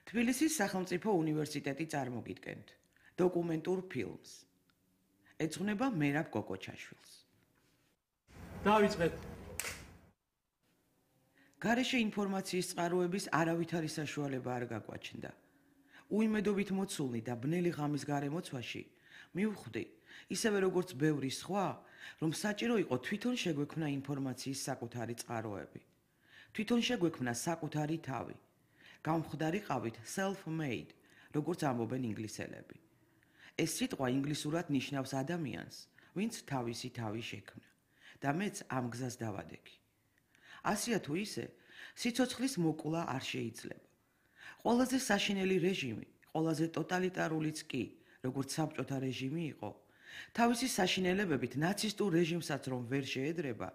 თბილისის სახელმწიფო უნივერსიტეტი წარმოგიდგენთ დოკუმენტურ ფილმს. ეძღვნება მერაბ კოკოჩაშვილს. დავიწყეთ. გარეშე ინფორმაციის წყაროების არავითარი საშუალება არ გაგვაჩნდა. უიმედობით მოცულნი და ბნელი ღამის გარემოცვაში მივხვდი, ისევე როგორც ბევრი სხვა, რომ საჭირო იყო თვითონ შეგვექმნა ინფორმაციის საკუთარი წყაროები. თვითონ შეგვექმნა საკუთარი თავი. გამხდარიყავით self-made, როგორც ამბობენ ინგლისელები. ეს სიტყვა ინგლისურად ნიშნავს ადამიანს, ვინც თავისი თავი შექმნა და მეც ამ გზას დავადექი. ასია თუ ისე, სიცოცხლის მოკლა არ შეიძლება. ყველაზე საშინელი რეჟიმი, ყველაზე ტოტალიტარულიც კი, როგორც საბჭოთა რეჟიმი იყო, თავისი საშინელებებით ნაცისტურ რეჟიმსაც რომ ვერ შეედრება,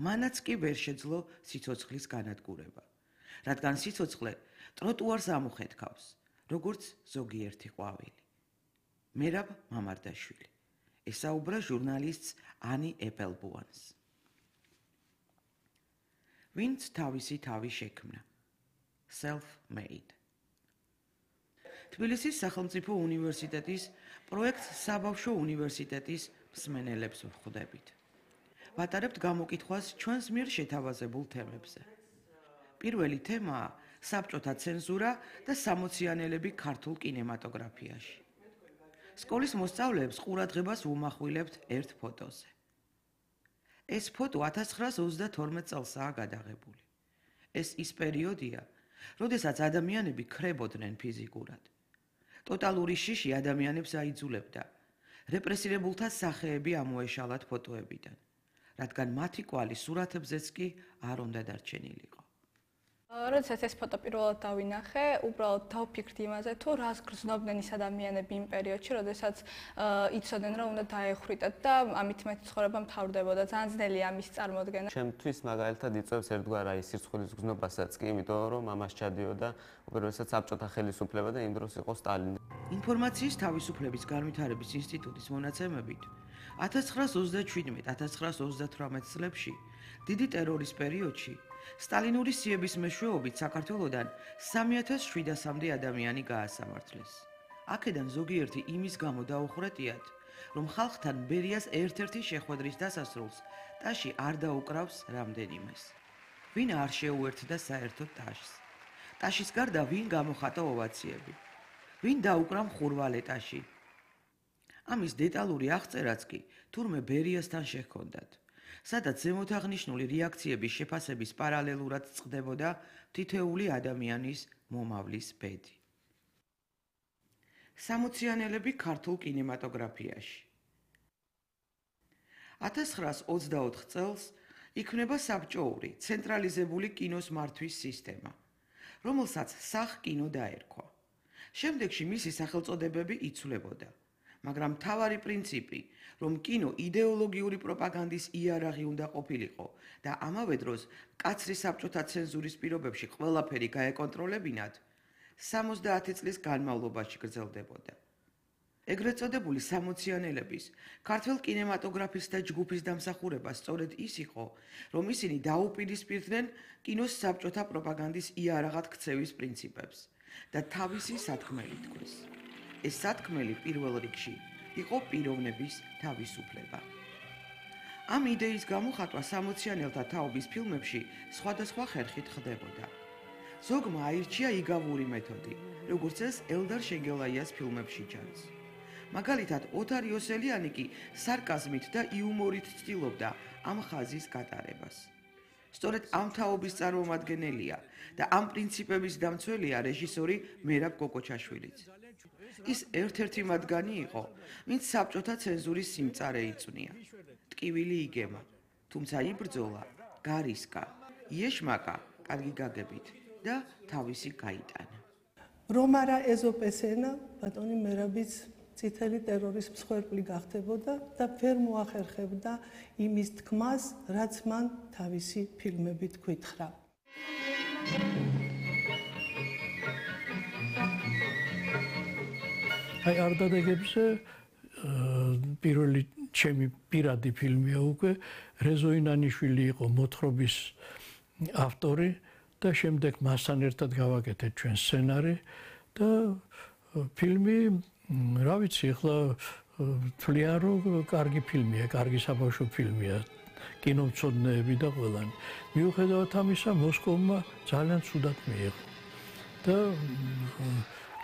მანაც კი ვერ შეძლო სიცოცხლის განადგურება. რადგან სიცოცხლე ტროტუარს ამუხეთქავს, როგორც ზოგიერთი ყვავილი. მერაბ მამარდაშვილი. ესაუბრა ჟურნალისტს ანი ეპელბუანს. ვინც თავისი თავი შექმნა. Self-made. თბილისის სახელმწიფო უნივერსიტეტის პროექტ საბავშვო უნივერსიტეტის მსმენელებს ვხვდებით. ვატარებთ გამოკითხვას ჩვენს მიერ შეთავაზებულ თემებზე. პირველი თემაა საბჭოთა ცენზურა და სამოციანელები ქართულ კინემატოგრაფიაში. სკოლის მოსწავლეებს ყურადღებას ვუმახვილებთ ერთ ფოტოზე. ეს ფოტო 1932 წელსაა გადაღებული. ეს ის პერიოდია, როდესაც ადამიანები ქრებოდნენ ფიზიკურად. ტოტალური შიში ადამიანებს აიძულებდა. რეპრესირებულთა სახეები ამოეშალათ ფოტოებიდან, რადგან მათი კვალი სურათებზეც კი არ უნდა დარჩენილიყო. როდესაც ეს ფოტო პირველად დავინახე, უბრალოდ დავფიქრდი იმაზე, თუ რას გრძნობდნენ ის ადამიანები იმ პერიოდში, როდესაც იცოდნენ, რომ უნდა დაეხრიტათ და ამით მეტი ცხოვრება მთავრდებოდა. ძალიან ძნელია ამის წარმოდგენა. ჩემთვის მაგალითად იწევს ერთგვარ აი სირცხვილის გზნობასაც კი, იმიტომ რომ ამას ჩადიოდა უპირველესად საბჭოთა ხელისუფლება და იმ დროს იყო სტალინი. ინფორმაციის თავისუფლების განვითარების ინსტიტუტის მონაცემებით 1927-1928 წლებში დიდი ტერორის პერიოდში სტალინური სიების მეშვეობით საქართველოდან 3700-მდე ადამიანი გაასამართლეს. აქედან ზოგიერთი იმის გამო დაუხრეტიათ, რომ ხალხთან ბერიას ერთ-ერთი შეხვედრის დასასრულს ტაში არ დაუკრავს რამდენიმეს. ვინ არ შეუერთდა საერთოდ ტაშს? ტაშის გარდა ვინ გამოხატა ოვაციები? ვინ დაუკრა მხურვალე ტაში? ამის დეტალური აღწერაც კი თურმე ბერიასთან შეჰქონდათ. სადაც ზემოთაღნიშნული რეაქციების შეფასების პარალელურად წყდებოდა თითეული ადამიანის მომავლის ბედი. სამოციანელები ქართულ კინემატოგრაფიაში. 1924 წელს იქმნება საბჭოური ცენტრალიზებული კინოს მართვის სისტემა, რომელსაც სახკინო დაერქვა. შემდეგში მისი სახელწოდებები იცვლებოდა. მაგრამ მთავარი პრინციპი, რომ კინო იდეოლოგიური პროპაგანდის იარაღი უნდა ყოფილიყო და ამავე დროს მკაცრი საბჭოთა ცენზურის პირობებში ყველაფერი გაეკონტროლებინათ, 70 წლის განმავლობაში გრძელდებოდა. ეგრეთ წოდებული სამოციანელების, ქართველ კინემატოგრაფისტთა ჯგუფის დამსახურება სწორედ ის იყო, რომ ისინი დაუპირისპირდნენ კინოს საბჭოთა პროპაგანდის იარაღად ქცევის პრინციპებს და თავისი სათქმელი თქვეს. ეს სათქმელი პირველ რიგში იყო პიროვნების თავისუფლება. ამ იდეის გამოხატვა სამოციანელთა თაობის ფილმებში სხვადასხვა ხერხით ხდებოდა. ზოგმა აირჩია იგავური მეთოდი, როგორც ეს ელდარ შენგელაიას ფილმებში ჩანს. მაგალითად, ოთარ იოსელიანი კი სარკაზმით და იუმორით ცდილობდა ამ ხაზის გატარებას. სწორედ ამ თაობის წარმომადგენელია და ამ პრინციპების დამცველია რეჟისორი მერაბ კოკოჩაშვილიც. ის ერთ-ერთი მათგანი იყო, ვინც საბჭოთა ცენზურის სიმწარე იწვნია. ტკივილი იგემა, თუმცა იბრძოლა, გარისკა, იეშმაკა, კარგი გაგებით და თავისი გაიტანა. რომ არა ეზოპესენა, ბატონი მერაბიც წითელი ტერორის მსხვერპლი გახდებოდა და ვერ მოახერხებდა იმის თქმას, რაც მან თავისი ფილმებით გვითხრა. აი არდადეგებზე პირველი ჩემი პირადი ფილმია უკვე რეზო ინანიშვილი იყო მოთხრობის ავტორი და შემდეგ მასთან ერთად გავაკეთეთ ჩვენ სცენარი და ფილმი, რა ვიცი, ახლა თვლიან რომ კარგი ფილმია, კარგი საბავშვო ფილმია. კინომცოდნეები და ყველანი. მიუხედავად ამისა, მოსკოვმა ძალიან ცუდად მიიღო. და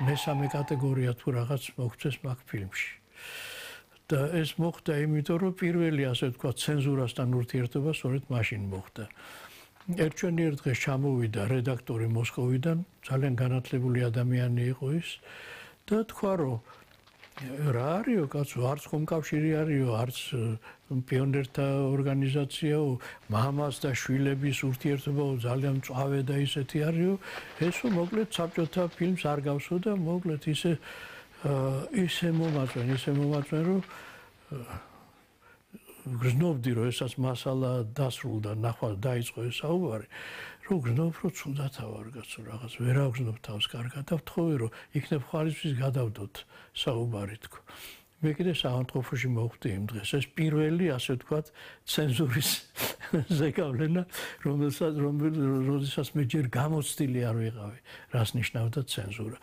მესამე კატეგორია თუ რაღაც მოგვწეს მაგ ფილმში. და ეს მოხდა იმიტომ, რომ პირველი, ასე ვთქვათ, ცენზურასთან ურთიერთობა სწორედ მაშინ მოხდა. ერთჩვენიერ დღეს ჩამოვიდა რედაქტორი მოსკოვიდან, ძალიან განათლებული ადამიანი იყო ის და თქვა, რომ რა არისო, კაცო, არც კომკავშირი არისო, არც პიონერთა ორგანიზაციაო, მამას და შვილების ურთიერთობაო, ძალიან მწვავე და ისეთი არისო, ესო მოკლედ საბჭოთა ფილმს არ გავსო და მოკლედ ისე მომაწვენ, რომ გრძნობდი, რომ ესაც მასალა დასრულდა, ნახვა დაიწყო ეს საუბარი, რომ გრძნობ, რომ ცუდათა ვარ, კაცო, რაღაც ვერ ავგრძნობ თავს კარგად და ვთხოვე, რომ იქნებ ხვალისთვის გადავდოთ საუბარი თქო. მე კიდე საავადმყოფოში მოვხვდი იმ დღეს. ეს პირველი, ასე ვთქვათ, ცენზურის ზეგავლენა, როდესაც მე ჯერ გამოცდილი არ ვიყავი, რას ნიშნავდა ცენზურა.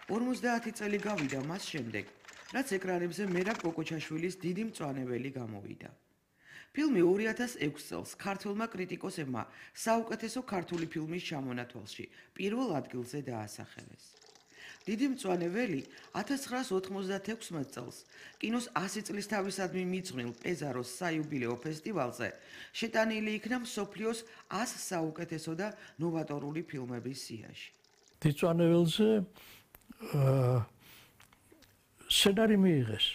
50 წელი გავიდა მას შემდეგ, რაც ეკრანებზე მერაბ კოკოჩაშვილის დიდი მწვანებელი გამოვიდა. ფილმი 2006 წელს ქართველმა კრიტიკოსებმა საუკეთესო ქართული ფილმის ჩამონათვალში პირველ ადგილზე დაასახელეს. დიდი მწვანებელი 1996 წელს კინოს 100 წლის თავისადმი მიძღვნილ პეზაროს საიუბილეო ფესტივალზე შეტანილი იქნა მსოფლიოს 100 საუკეთესო და ნოვატორული ფილმების სიაში. დიდ მწვანებელზე სცენარი მიიღეს.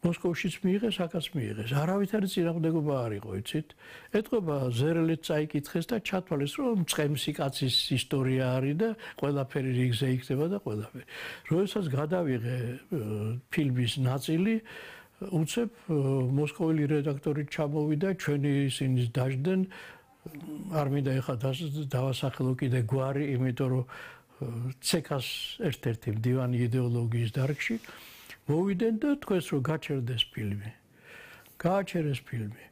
მოსკოვშიც მიიღეს, აქაც მიიღეს. არავითარი წინააღმდეგობა არ იყო, იცით? ეთყობა ზერელეთ წაიკითხეს და ჩათვალეს, რომ მწყემსი კაცის ისტორია არის და ყველაფერი რიგზე იქნება და ყველაფერი. როდესაც გადავიღე ფილმის ნაწილი, უცებ მოსკოველი რედაქტორი ჩამოვიდა, ჩვენი ისინი დაждდნენ. არ მინდა ეხლა დავასახელო კიდე გვარი, იმიტომ რომ ცეკას ერთ-ერთი მდივანი იდეოლოგიის დარგში მოვიდნენ და თქვენს რომ გაჩერდეს ფილმი. გააჩერეს ფილმი.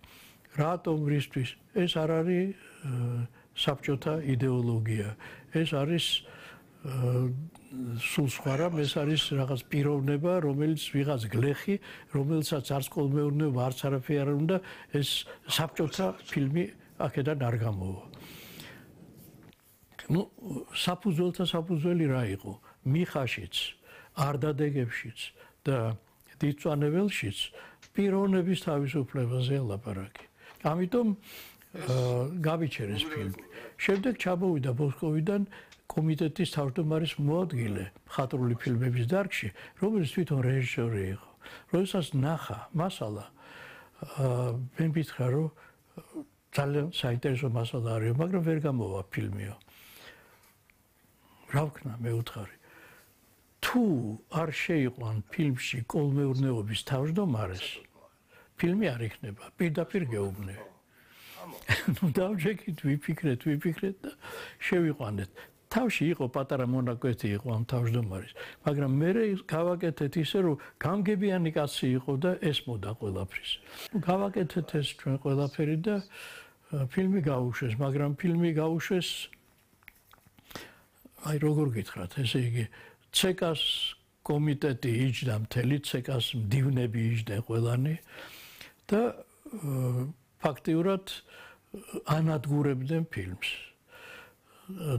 რატომ რისთვის? ეს არ არის საბჭოთა იდეოლოგია. ეს არის სულ სხვა რამ, ეს არის რაღაც პიროვნება, რომელიც ვიღაც გლეხი, რომელსაც არც კოლმეურნეობა, არც არაფერი არ უნდა, ეს საბჭოთა ფილმი აქედან არ გამოვა. ну საფუძველთა საფუძველი რა იყო? მიხაშიც, არდადეგებშიც და დიდწვანებელშიც პიროვნების თავისუფლებაზე ლაპარაკი. ამიტომ გავიჩერეს ფილმი. შემდეგ ჩამოვიდა მოსკოვიდან კომიტეტის თავმჯდომარის მოადგილე მხატვრული ფილმების დარგში, რომელიც თვითონ რეჟისორი იყო. როდესაც ნახა მასალა, მე მითხრა, რომ ძალიან საინტერესო მასალა არის, მაგრამ ვერ გამოვა ფილმიო. რა ვქნა, მე უთხარი. თუ არ შეიყვან ფილმში კოლმეურნეობის თავმჯდომარეს, ფილმი არ იქნება, პირდაპირ გეუბნე. ну დავჭეკით, ვიფიქრეთ და შევიყვანეთ. თავში იყო პატარა მონაკვეთი იყო ამ თავმჯდომარის, მაგრამ მე გავაკეთეთ ისე, რომ გამგებიანი კაცი იყო და ესმოდა ყველაფრის. გავაკეთეთ ეს ჩვენ ყველაფერი და ფილმი გაუშვეს, მაგრამ ფილმი გაუშვეს აი როგორ გითხრათ, ესე იგი ცეკას კომიტეტი იჯდა მთელი, ცეკას მდივნები იჯდნენ ყველანი და ფაქტიურად ანადგურებდნენ ფილმს.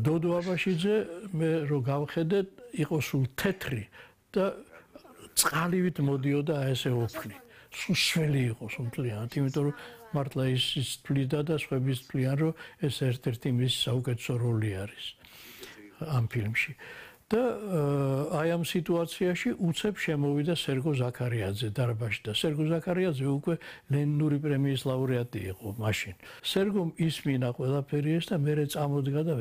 დოდო აბაშიძე მე რო გავხედეთ, იყო სულ თეთრი და წყალივით მოდიოდა ესე ოფლი. სულ შველი იყო სულთლიანად, იმიტომ რომ მართლა ის თვლიდა და სხვების თვლიან, რომ ეს ერთ-ერთი მის საუკეთესო როლი არის ამ ფილმში. და აი ამ სიტუაციაში უცებ შემოვიდა სერგო ზაქარიაძე დარბაზში და სერგო ზაქარიაძე უკვე ლენინური პრემიის ლაურეატი იყო მაშინ. სერგომ ისმინა ყველაფერი ეს და მერე წამოდგა და